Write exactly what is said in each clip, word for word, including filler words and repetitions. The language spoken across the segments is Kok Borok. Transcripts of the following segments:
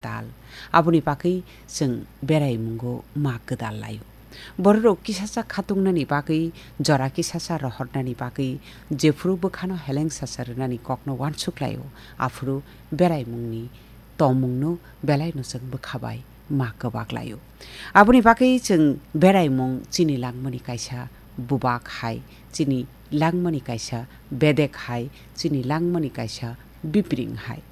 tal. Aboni bagwi chwng beraimungo ma kwdal laio. Bororok kisacha khatungnani bagwi, jora kisacha rohornani bagwi, jephuru bwkhano heleng sacha rwnani kokno uansuk laio, aphuru beraimungni tongmungno belaino chwng bwkha bai ma kwbak laio. Aboni bagwi chwng beraimung chini langmani kaisa bubak hai, chini langmani kaisa bedek hai, chini langmani kaisa bipring hai.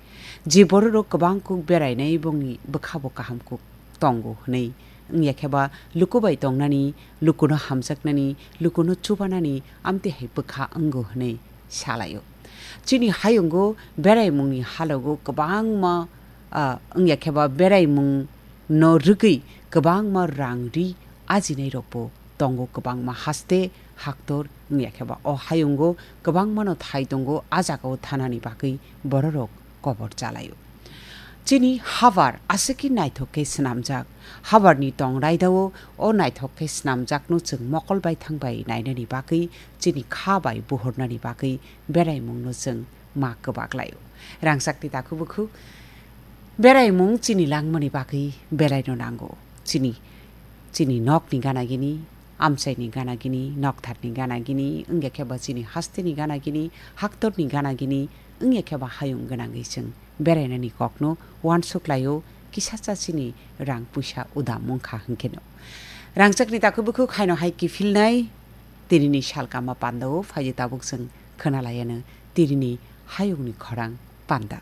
Je bororok kwbang kuk berainai bongni bwkhabo kaham kuk tongo hwnwi wngya khe ba luku bai tongnani, lukuno hamjaknani, lukuno chubanani amtwi hai bwkha wngo hwnwi salaio. Chini hayungo beraimungni halogo kwbangma, ah, wngya khe ba beraimungno rwgwi kwbangma rang ri ajinai rokbo tongo, kwbangma haste haktor wngya khe ba o hayungo kwbangmano thai tongo, a jagao thanani bagwi bororok kobor chalaio. Chini habar aswkhe naithok khe swnamjak. Habarni tong raidao o naithok khe swnamjakno chwng mokol baithang bai nainani bagwi, chini kha bai buhornani bagwi beraimungno chwng ma kwbak laio. Rangchakni takhuk bukhuk beraimung chini langmani bagwi belaino nango. Chini, chini nokni gana gini, amchaini gana gini, noktharni gana gini, wngya khe ba chini hasteni gana gini, haktorni gana gini, wngya khe ba hayung gwnangwi chwng berainani kokno uansuk laio, kisacha chini rang puisa udam wngkha hwnkheno. Rangchakni takhuk bukhuk haino hai kiphilnai tinini salkama pandao phaiwi tabuk chwng khwnalaiano tinini hayungni khorang panda.